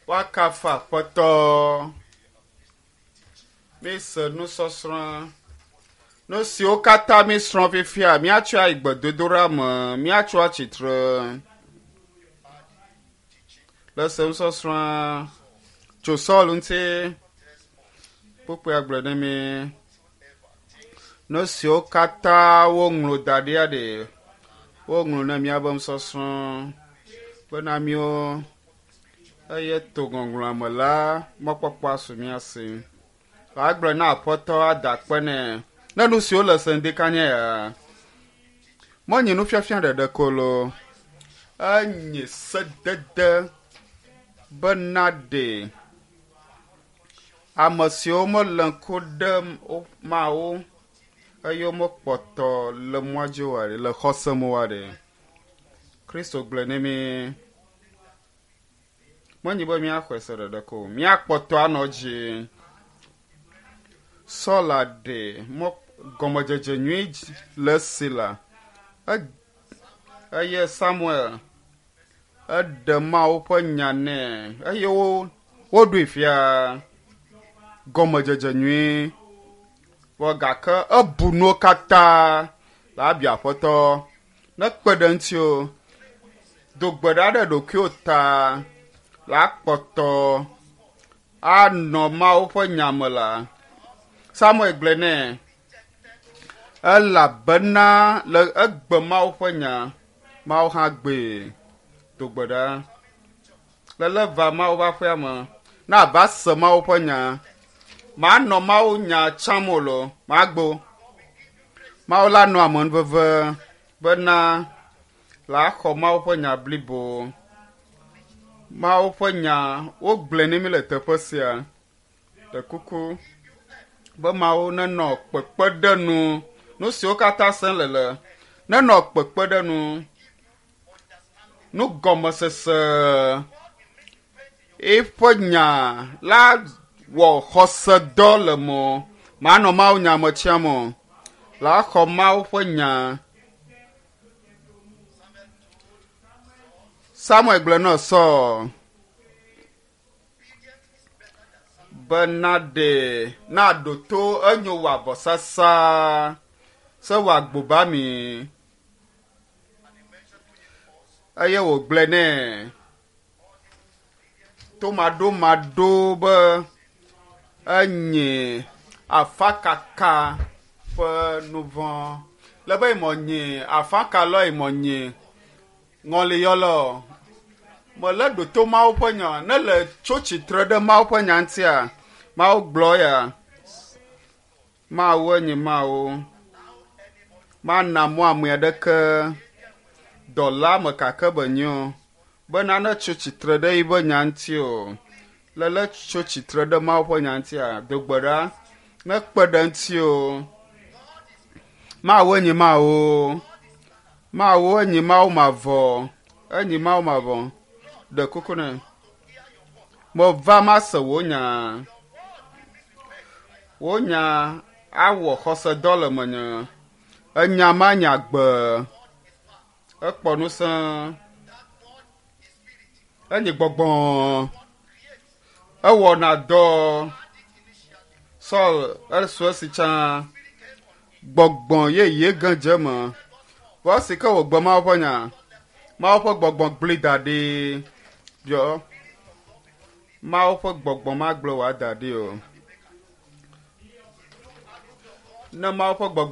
Woakafu Aƒetɔ. Míese nusɔsrɔ̃. Nu siwo katã míesrɔ̃ fifia, míatsɔe ayi gbedodoɖa me, míatso atsitre le se nusɔsrɔ̃a tso Saul ŋuti. Kpukpuia gblɔe ne mí. Nu siwo katã woŋlɔ da ɖia ɖe, woŋlɔ ne míabe nusɔsrɔ̃ bena míwo eye to ŋɔŋlɔa me la, mɔkpɔkpɔ asu mía si. Agblɔ na Aƒetɔ ada akpe nɛ ne nu siwo le se ŋdikanye ya. Menye nufiafia ɖeɖe ko loo, enye sedede bena ɖe ame siwo mele ŋku ɖem Mawu eye womekpɔtɔ le mɔa dzi oa ɖe, le xɔse me oa ɖe. Kristo gblɔe ne mí. Menye be míaxɔe se ɖeɖe ko o, míakpɔtɔ anɔ edzi. Saul ɖe mɔ gɔmedzedze nyui le esi la, eye Samuel eɖe Mawu ƒe nya nɛ eye wo woɖoe fia gɔmedzedze nyui. Vɔ gake ebu nuwo katã le abia Aƒetɔ nekpe ɖe ŋuti o. Do gbe ɖa ɖe ɖokuiwò ta la kpɔtɔ anɔ Mawu ƒe nya me la. Samuel gblɔe nɛ elabena le egbe Mawu ƒe nya, Mawu hã gbee. Do gbe ɖa. Lele va Mawu ƒe aƒea me. Ne ava se Mawu ƒe nya, manɔ Mawu nya tsam o lo, magbo. Mawu la nɔ amenuveve bena la xɔ Mawu ƒe nya blibo. Mawu ƒe nya wogblɔe ne mi le teƒe sia. Ɖe kuku be Mawu nenɔ kpekpeɖenu nu siwo katã sem le le nenɔ kpekpeɖenu nugɔmesese eƒe nya la wɔ xɔsedɔ le mɔ manɔ Mawu nya me tsiam o. La xɔ Mawu ƒe nya. Samuel gblɔ na Saul be naɖe naɖo to enyo wɔ avɔsasa se wɔ agbobami eye wògblɔe nɛ tomaɖomaɖo be enye afakaka ƒe nu vɔ̃. Le be mɔ nye afaka lɔ mɔ nye ŋɔliyɔlɔ. Mele ɖo to Mawu ƒe nya ne le tso tsitre ɖe Mawu ƒe nya ŋutia. Mawu gblɔ ya. Mawu enye Mawu. Mana mɔ ame aɖeke dɔla me kake be nyo be nane tso tsitre ɖe yiƒe nya ŋuti o. Lele tso tsitre ɖe Mawu ƒe nya ŋutia, do gbe ɖa nekpe ɖe ŋuti o. Mawu enye Mawu. Mawu enye Mawu mavɔ. Enye Mawu mavɔ. Ɖe kuku nɛ. Meva mase wò nya. Wò nya awɔ xɔsedɔ le menye. Enya ma nye agbe. Ekpɔ ŋusẽ. Enye gbɔgbɔ. Ewɔna dɔ. Saul esu esi tsã. Gbɔgbɔ yeye ge dze eme. Vɔ esi ke wògbe Mawu ƒe nya, Mawu ƒe gbɔgbɔ gblẽ da ɖi. Biɔ. Mawu ƒe gbɔgbɔ magblẽ wò ada ɖi o. Ne Mawu ƒe gbɔgbɔ.